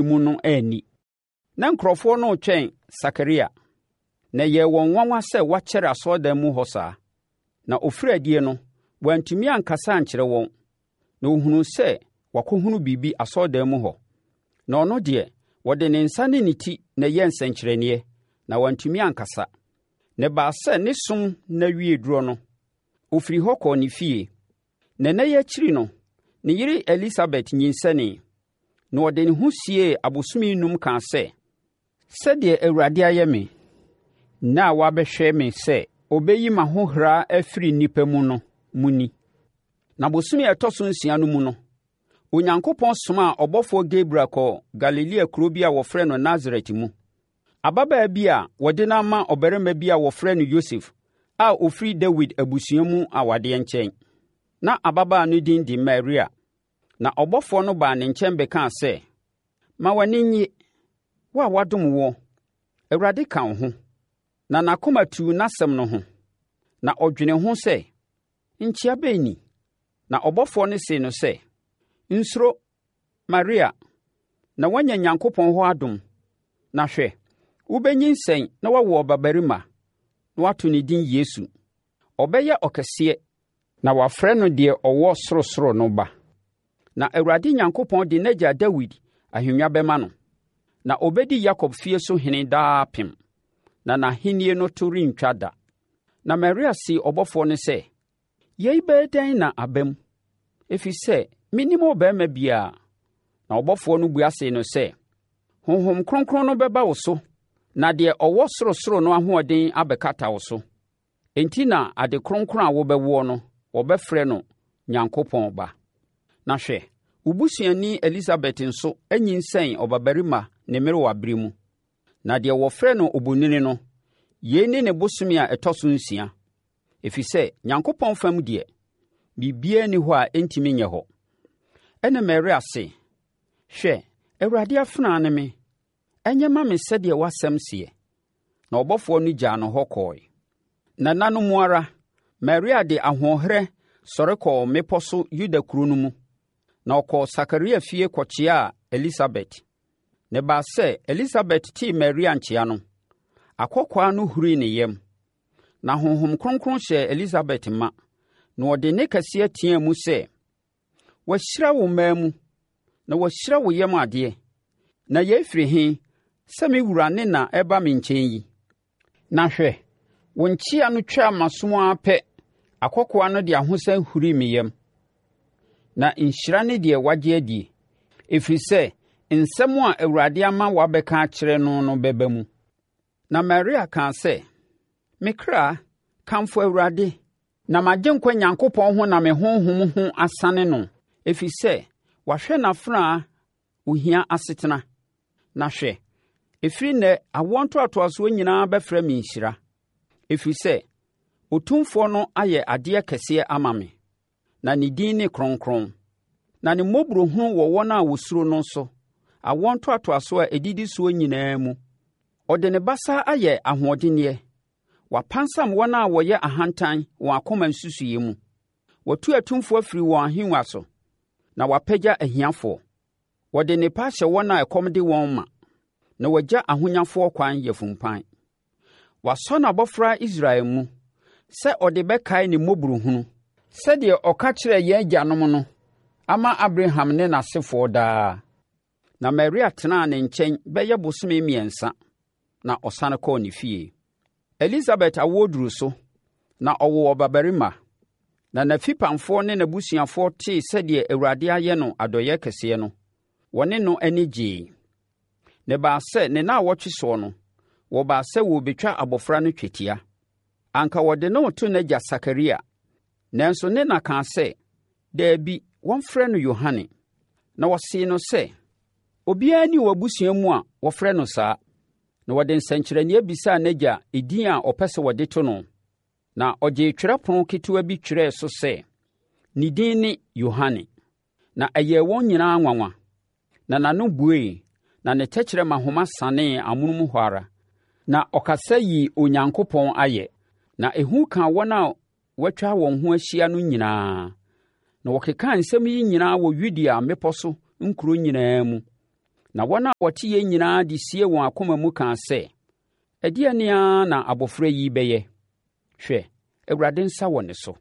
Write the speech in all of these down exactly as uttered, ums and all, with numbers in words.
mu no anni. Na nkurɔfoɔ no retwɛn Sakaria, na ɛyɛɛ wɔn nwanwa sɛ wakyɛre asɔredan mu hɔ saa. Na ɔfirii adie no, wantumi ankasa ankyerɛ wɔn, na wɔhunuu sɛ wakɔhunu biribi asɔredan mu hɔ. Na ɔno deɛ, wɔde ne nsa ne ne ti na ɛyɛɛ nsɛnkyerɛnneɛ, na wantumi ankasa. Na ɛbaa sɛ ne som nna wiee duro no, ɔfirii hɔ kɔɔ ne fie. Na nna yi akyiri no, ne yere Elisabet nyinsɛnee, na ɔde ne ho siee abosome nnum kaa sɛ, Sɛdeɛ Awurade ayɛ me, nna a wabɛhwɛ me sɛ ɔbɛyi m'ahohora afiri nnipa mu no mu ni. Na bosome a ɛtɔ so nsia no mu no, Onyankopɔn somaa ɔbɔfoɔ Gabriel kɔɔ Galilea kuro bi a wɔfrɛ no Nasaret mu. Ababaa bi a wɔde no ama ɔbarima bi a wɔfrɛ no Yosef a ɔfiri Dawid abusua mu awadeɛ nkyɛn. Na ababaa no din de Maria. Na ɔbɔfoɔ no baa ne nkyɛn bɛkaa sɛ, Ma w'ani nnye, wo a wɔadom woɔ, Awurade ka wo ho. Na n'akoma tuu n'asɛm no ho, na ɔdwenee ho sɛ, Nkyea bɛn ni? Na ɔbɔfoɔ no see no sɛ, Nsuro, Maria, na woanya Nyankopɔn hɔ adom. Na hwɛ, wobɛnyinsɛn na woawo ɔbabarima, na woato ne din Yesu. Ɔbɛyɛ ɔkɛseɛ, na wɔafrɛ no deɛ ɔwɔ sorosoro no Ba. Na Awurade Nyankopɔn de n'agya Dawid ahennwa bɛma no, na ɔbɛdi Yakob fie so hene daapem, na n'ahennie no to rentwa da. Na Maria see ɔbɔfoɔ no sɛ, Yei bɛyɛ dɛn na aba mu? Ɛfiri sɛ mennim ɔbarima biara. Na ɔbɔfoɔ no bua see no sɛ, Honhom Kronkron no bɛba wo so, na deɛ ɔwɔ sorosoro no ahoɔden abɛkata wo so. Enti na ade kronkron a wobɛwoɔ no, wɔbɛfrɛ no Nyankopɔn Ba. Na hwɛ, wo busuani Elisabet nso anyinsɛn ɔbabarima ne mmerewaberɛ mu. Na deɛ wɔfrɛ no obonini no, yei ne ne bosome a ɛtɔ so nsia, ɛfiri sɛ Nyankopɔn fam deɛ, biribiara nni hɔ a ɛntumi nyɛ hɔ. Ɛnna Maria se, Hwɛ, Awurade afenaa ne me, ɛnyɛ mma me sɛdeɛ w'asɛm seɛ. Na ɔbɔfoɔ no gyaa no hɔ kɔɔe. Na nna no mu ara, Maria de ahoɔherɛ sɔre kɔɔ mmepɔ so Yuda kuro no mu, na ɔkɔɔ Sakaria fie kɔkyeaa Elisabet. Na ɛbaa sɛ Elisabet tee Maria nkyea no, akɔkoaa no hurii ne yam. Na Honhom Kronkron hyɛɛ Elisabet ma, na ɔde nne kɛseɛ teaa mu sɛ, Wɔahyira wo mmaa mu, na wɔahyira wo yam adeɛ. Na yei firi he sɛ me wura ne na reba me nkyɛn yi? Na hwɛ, wo nkyea no twaa m'asom ara pɛ, akɔkoaa no de ahosan hurii me yam. Na nhyira ne deɛ wagye adie, ɛfiri sɛ nsɛm a Awurade ama wɔabɛka akyerɛ no no bɛba mu. Na Maria kaa sɛ, Me kra, kamfo Awurade, na m'agyenkwa Nyankopɔn ho na me honhom ho asane no, ɛfiri sɛ wahwɛ n'afenaa ohia asetena. Na hwɛ, ɛfiri nnɛ awoɔ ntoatoasoɔ nyinaa bɛfrɛ me nhyira, ɛfiri sɛ Otumfoɔ no ayɛ adeɛ kɛseɛ ama me, na ne din ne kronkron. Na ne mmɔborɔhunu wɔ wɔn a wɔsuro no so, awoɔ ntoatoasoɔ a ɛdidi soɔ nyinaa mu. Ɔde ne basa ayɛ ahoɔdenneɛ. Wapansam wɔn a wɔyɛ ahantan wɔn akoma nsusuiɛ mu. Watu atumfoɔ afiri wɔn ahennwa so, na wapagya ahiafoɔ. Wɔde nnepa ahyɛ wɔn a ɛkɔm de wɔn ma, na wagya ahonyafoɔ kwan yafumpan. Wasɔ n'abɔfra Israel mu sɛ ɔde bɛkae ne mmɔborɔhunu, sɛdeɛ ɔka kyerɛɛ yɛn agyanom no ama Abraham ne n'asefoɔ daa. Na Maria tenaa ne nkyɛn bɛyɛ bosome mmiɛnsa, na ɔsane kɔɔ ne fie. Elisabet awoɔ duruu so, na ɔwoo ɔbabarima. Na n'afipamfoɔ ne n'abusuafoɔ tee sɛdeɛ Awurade ayɛ no adɔeɛ kɛseɛ no, wɔne no ani gyee. Na ɛbaa sɛ ne nnawɔtwe soɔ no, wɔbaa sɛ wɔrebɛtwa abɔfra no twetia. Anka wɔde no reto n'agya Sakaria, nanso ne na kaa sɛ, Dabi, wɔmfrɛ no Yohane. Na wɔsee no sɛ, Obiara nni w'abusua mu a wɔfrɛ no saa. Na wɔde nsɛnkyerɛnneɛ bisaa n'agya edin a ɔpɛ sɛ wɔde to no. Na ɔgyee twerɛpono ketewa bi twerɛɛ so sɛ, Ne din ne Yohane. Na ɛyɛɛ wɔn nyinaa nwanwa. Na n'ano buee, na ne tɛkyerɛma homa sanee amonom hɔ ara, na ɔkasa yii Onyankopɔn ayɛ. Na ehu kaa wɔn a wɔatwa wɔn ho ahyia no nyinaa. Na wɔkekaa nsɛm yi nyinaa wɔ Yudea mmepɔ so nkuro nyinaa mu. Na wɔn a wɔteeɛ nyinaa de siee wɔn akoma mu kaa sɛ, “Ɛdeɛn ara na abɔfra yi rebɛyɛ? Hwɛ, Awurade nsa wɔ ne so.”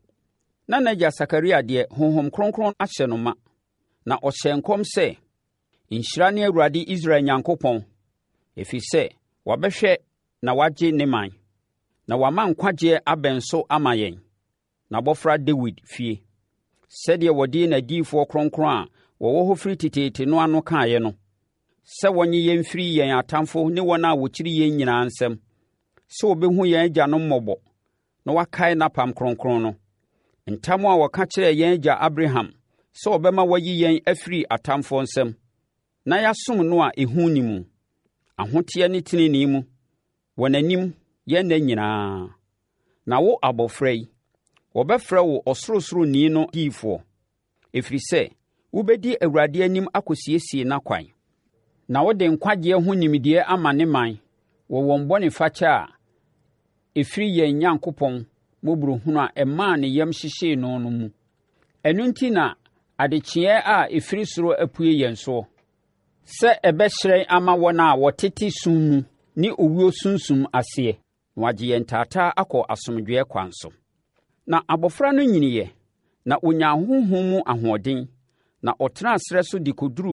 Na n'agya Sakaria deɛ, Honhom Kronkron ahyɛ no ma, na ɔhyɛɛ nkɔm sɛ, “Nhyira ne Awurade Israel Onyankopɔn, ɛfiri sɛ, wabɛhwɛ na wagye ne ɔman. Na wama nkwagyeɛ abɛn so ama yɛn, n'abɔfra Dawid fie, sɛdeɛ ɔde n'adiyifoɔ kronkron a wɔwɔ hɔ firi teteete no ano kaeɛ no, sɛ ɔnnye yɛn mfiri yɛn atamfoɔ ne wɔn a wɔkyiri yɛn nyinaa nsam, sɛ ɔbɛhunu yɛn agyanom mmɔbɔ na wakae n'apam kronkron no, ntam a ɔka kyerɛɛ yɛn agya Abraham sɛ ɔbɛma wayi yɛn afiri atamfoɔ nsam, na yɛasom no a ehu nni mu, ahoteɛ ne tenenee mu, wɔ n'anim yɛn nna nyinaa. Na wo abɔfra yi, wɔbɛfrɛ wo Ɔsorosoroni no diyifoɔ, ɛfiri sɛ, wobɛdi Awurade anim akɔsiesie n'akwan. Na wode nkwagyeɛ ho nimdeɛ ama ne man wɔ wɔn bɔnefakyɛ a ɛfiri yɛn Onyankopɔn mmɔborɔhunu a ɛmaa ne yam hyehyee no no mu. Ɛno enti na adekyeeɛ a ɛfiri soro apue yɛn soɔ, sɛ ɛbɛhyerɛn ama wɔn a wɔtete sum mu ne owuo sunsum aseɛ, na wagye yɛn taataa akɔ asomdwoeɛ kwan so. Na abɔfra no nyiniiɛ, na ɔnyaa honhom mu ahoɔden, na ɔtenaa serɛ so de kɔduruu